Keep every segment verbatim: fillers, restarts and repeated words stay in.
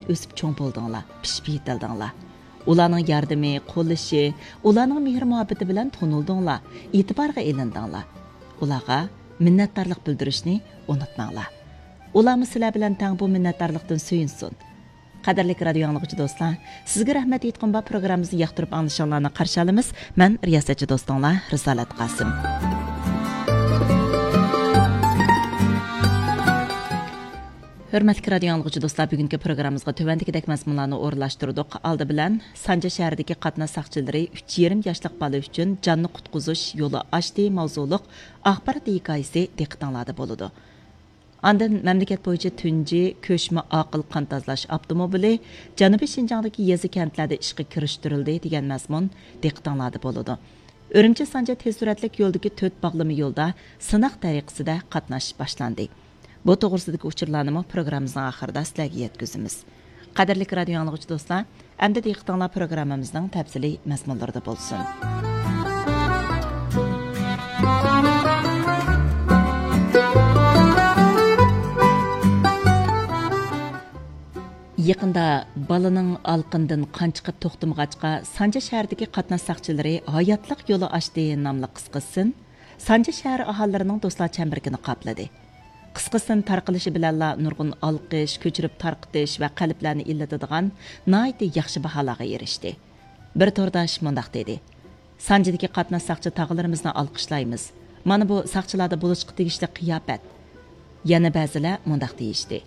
ئۆسۈپ چوڭ بولدۇڭلار، پىشىپ يېتىلدىڭلار. ئۇلارنىڭ ياردىمى، قوللىشى، ئۇلارنىڭ مېھىر-مۇھەببىتى بىلەن تونۇلدۇڭلار، ئېتىبارغا ئېلىندىڭلار. ئۇلارغا مىننەتدارلىق بىلدۈرۈشنى ئۇنتۇماڭلار. ئۇلارمۇ سىلەر بىلەن تەڭ بۇ مىننەتدارلىقتىن سۆيۈنسۇن. قەدىرلىك رادىيو ئاڭلىغۇچى دوستلار، سىزگە رەھمەت ئېيتقۇم بار پروگراممىمىزنى ياقتۇرۇپ ئاڭلىشىڭلارنى قارشى ئالىمىز. مەن رىياسەتچى دوستۇڭلار رىسالەت قاسىم. ھۆرمەتلىك رادىيو ئاڭلىغۇچى دوستلار، بۈگۈنكى پروگراممىمىزغا تۆۋەندىكىدەك مەزمۇنلارنى ئورۇنلاشتۇردۇق. ئالدى بىلەن، سانجا شەھىرىدىكى قاتناش ساقچىلىرى ئۈچ يېرىم ياشلىق بالا ئۈچۈن جاننى قۇتقۇزۇش يولى ئاچتى ماۋزۇلۇق ئاخبارات ھېكايىسى دىققىتىڭلاردا بولىدۇ. ئاندىن مەملىكەت بويىچە تۇنجى كۆچمە ئاقىل قان تازىلاش ئاپتوموبىلى جەنۇبىي شىنجاڭدىكى يېزا كەنتلەردە ئىشقا كىرىشتۈرۈلدى دېگەن مەزمۇن دىققىتىڭلاردا بولىدۇ. ئۈرۈمچى سانجا تېز سۈرئەتلىك يولدىكى تۆت باغلىما يولدا سىناق تەرىقىسىدە قاتناش باشلاندى. بۇ توغرىسىدىكى ئۇچۇرلارنىمۇ پروگراممىمىزنىڭ ئاخىرىدا سىلەرگە يەتكۈزىمىز. قەدىرلىك رادىيو ئاڭلىغۇچى دوستلار، ئەمدى دىققىتىڭلار پروگراممىمىزنىڭ تەپسىلىي مەزمۇنلىرىدا بولسۇن. يېقىندا بالىنىڭ ئالقىنىدىن قان چىقىپ توختىمىغاچقا، سانجا شەھىرىدىكى قاتناش ساقچىلىرى ھاياتلىق يولى ئاچتى ناملىق قىسقا سىن سانجا شەھەر ئاھالىلىرىنىڭ دوستلار چەمبىرىكىنى قاپلىدى. قىسقا سىن تارقىلىشى بىلەنلا نۇرغۇن ئالقىش، كۆچۈرۈپ تارقىتىش ۋە قەلبلەرنى ئىللىتىدىغان ناھايىتى ياخشى باھالارغا ئېرىشتى. بىر تورداش مۇنداق دېدى: «سانجىدىكى قاتناش ساقچى تاغىلىرىمىزنى ئالقىشلايمىز. مانا بۇ ساقچىلاردا بولۇشقا تېگىشلىك قىياپەت.» يەنە بەزىلەر مۇنداق دېيىشتى: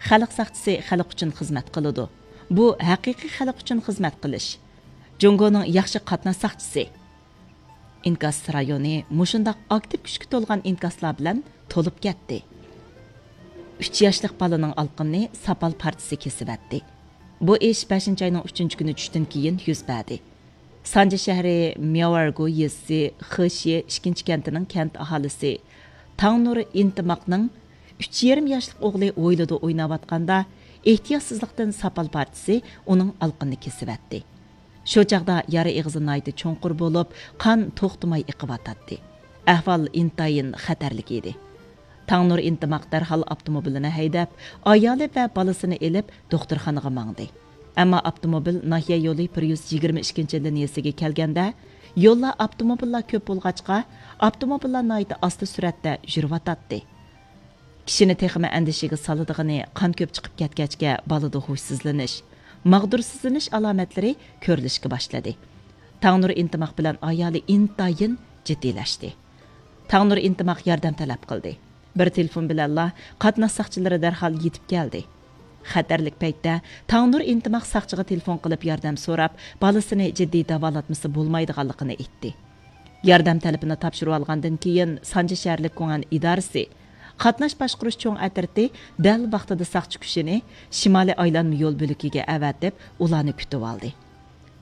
«خەلق ساقچىسى خەلق ئۈچۈن خىزمەت قىلىدۇ. بۇ ھەقىقىي خەلق ئۈچۈن خىزمەت قىلىش. جۇڭگونىڭ ياخشى قاتناش ساقچىسى.» ئىنكاس رايونى مۇشۇنداق ئاكتىپ كۈچكە تولغان ئىنكاسلار بىلەن تولۇپ كەتتى. ئۈچ ياشلىق بالىنىڭ ئالقىنىنى ساپال پارچىسى كېسىۋەتتى. بۇ ئىش بەشىنچى ئاينىڭ ئۈچىنچى كۈنى چۈشتىن كېيىن يۈز بەردى. سانجى شەھىرى مياۋارگو يېزىسى خېشيې ئىككىنچى كەنتىنىڭ كەنت ئاھالىسى تاڭنۇر ئىنتىماقنىڭ ئۈچ يېرىم ياشلىق ئوغلى ھويلىدا ئويناۋاتقاندا، ئېھتىياتسىزلىقتىن ساپال پارچىسى ئۇنىڭ ئالقىنىنى كېسىۋەتتى. شۇ چاغدا يارا ئېغىزى ناھايىتى چوڭقۇر بولۇپ، قان توختىماي ئېقىۋاتاتتى. ئەھۋال ئىنتايىن خەتەرلىك ئىدى. تاڭنۇر ئىنتىماق دەرھال ئاپتوموبىلىنى ھەيدەپ، ئايالى ۋە بالىسىنى ئېلىپ دوختۇرخانىغا ماڭدى. ئەمما ئاپتوموبىل ناھىيە يولى بىر يۈز يىگىرمە ئىككىنچى لىنىيەسىگە كەلگەندە، يولدا ئاپتوموبىللار كۆپ بولغاچقا، ئاپتوموبىللار ناھايىتى ئاستا سۈرئەتتە يۈرۈۋاتاتتى. كىشىنى تېخىمۇ ئەندىشىگە سالىدىغىنى، قان كۆپ چىقىپ كەتكەچكە بالىدا ھوشسىزلىنىش، ماغدۇرسىزلىنىش ئالامەتلىرى كۆرۈلۈشكە باشلىدى. تاڭنۇر ئىنتىماق بىلەن ئايالى ئىنتايىن جىددىيلەشتى. تاڭنۇر ئىنتىماق ياردەم تەلەپ قىلدى. بىر تېلېفون بىلەنلا قاتناش ساقچىلىرى دەرھال يېتىپ كەلدى. خەتەرلىك پەيتتە تاڭنۇر ئىنتىماق ساقچىغا تېلېفون قىلىپ ياردەم سوراپ، بالىسىنى جىددىي داۋالاتمىسا بولمايدىغانلىقىنى ئېيتتى. ياردەم تەلىپىنى تاپشۇرۇۋالغاندىن كېيىن، سانجى شەھەرلىك گۇڭئەن ئىدارىسى قاتناش باشقۇرۇش چوڭ ئەترىتى دەل ۋاقتىدا ساقچى كۈچىنى شىمالىي ئايلانما يول بۆلىكىگە ئەۋەتىپ، ئۇلارنى كۈتۈۋالدى.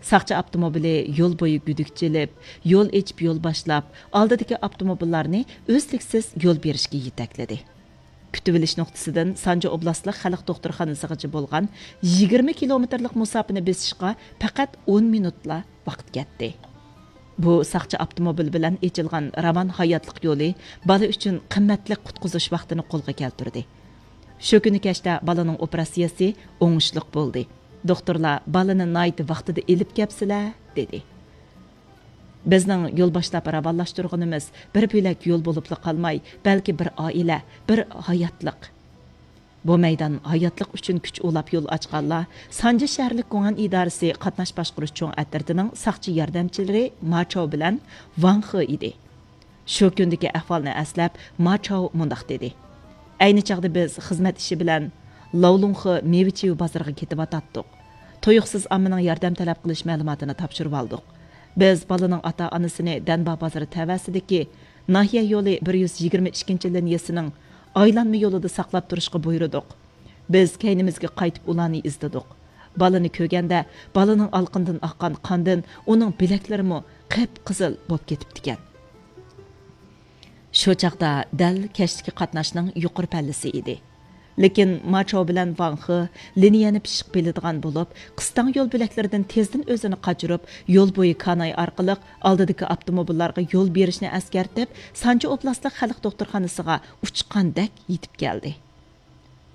ساقچى ئاپتوموبىلى يول بويى گۈدۈك چېلىپ، يول ئېچىپ يول باشلاپ، ئالدىدىكى ئاپتوموبىللارنى ئۈزلۈكسىز يول بېرىشكە يېتەكلىدى. كۈتۈۋېلىش نۇقتىسىدىن سانجى ئوبلاستلىق خەلق دوختۇرخانىسىغىچە بولغان يىگىرمە كىلومېتىرلىق مۇساپىنى بېسىشقا پەقەت ئون مىنۇتلا ۋاقىت كەتتى. بۇ ساقچى ئاپتوموبىلى بىلەن ئېچىلغان راۋان ھاياتلىق يولى بالا ئۈچۈن قىممەتلىك قۇتقۇزۇش ۋاقتىنى قولغا كەلتۈردى. شۇ كۈنى كەچتە بالىنىڭ ئوپېراتسىيەسى ئوڭۇشلۇق بولدى. دوختۇرلار بالىنى ناھايىتى ۋاقتىدا ئېلىپ كەپسىلە، دېدى. بىزنىڭ يول باشلاپ راۋانلاشتۇرغىنىمىز بىر بۆلەك يول بولۇپلا قالماي، بەلكى بىر ئائىلە، بىر ھاياتلىق. بۇ مەيدان ھاياتلىق ئۈچۈن كۈچ ئۇلاپ يول ئاچقانلار سانجى شەھەرلىك گۇڭئەن ئىدارىسى قاتناش باشقۇرۇش چوڭ ئەترىتىنىڭ ساقچى ياردەمچىلىرى ما چاۋ بىلەن ۋاڭ خې ئىدى. شۇ كۈندىكى ئەھۋالنى ئەسلەپ، ما چاۋ مۇنداق دېدى: «ئەينى چاغدا بىز خىزمەت ئىشى بىلەن لاۋلۇڭخې مېۋە چىۋە بازىرىغا كېتىۋاتاتتۇق. تۇيۇقسىز ئاممىنىڭ ياردەم تەلەپ قىلىش مەلۇماتىنى تاپشۇرۇۋالدۇق. بىز بالىنىڭ ئاتا-ئانىسىنى دەنبا بازىرى تەۋەسىدىكى ناھىيە يولى بىر يۈز يىگىرمە ئىككىنچى لىنىيەسىنىڭ ئايلانما يولىدا ساقلاپ تۇرۇشقا بۇيرۇدۇق. بىز كەينىمىزگە قايتىپ ئۇلارنى ئىزدىدۇق. بالىنى كۆرگەندە، بالىنىڭ ئالقىنىدىن ئاققان قاندىن ئۇنىڭ بىلەكلىرىمۇ قىپقىزىل بولۇپ كېتىپتىكەن.» شۇ چاغدا دەل كەچلىكى قاتناشنىڭ يۇقىرى پەللىسى ئىدى. لېكىن ما چاۋ بىلەن ۋاڭ خې لىنىيەنى پىششىق بىلىدىغان بولۇپ، قىستاڭ يول بۆلەكلىرىدىن تېزدىن ئۆزىنى قاچۇرۇپ، يول بويى كاناي ئارقىلىق ئالدىدىكى ئاپتوموبىللارغا يول بېرىشنى ئەسكەرتىپ، سانجى ئوبلاستلىق خەلق دوختۇرخانىسىغا ئۇچقاندەك يېتىپ كەلدى.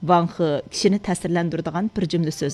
ۋاڭ خې كىشىنى تەسىرلەندۈرىدىغان بىر جۈملە سۆزنى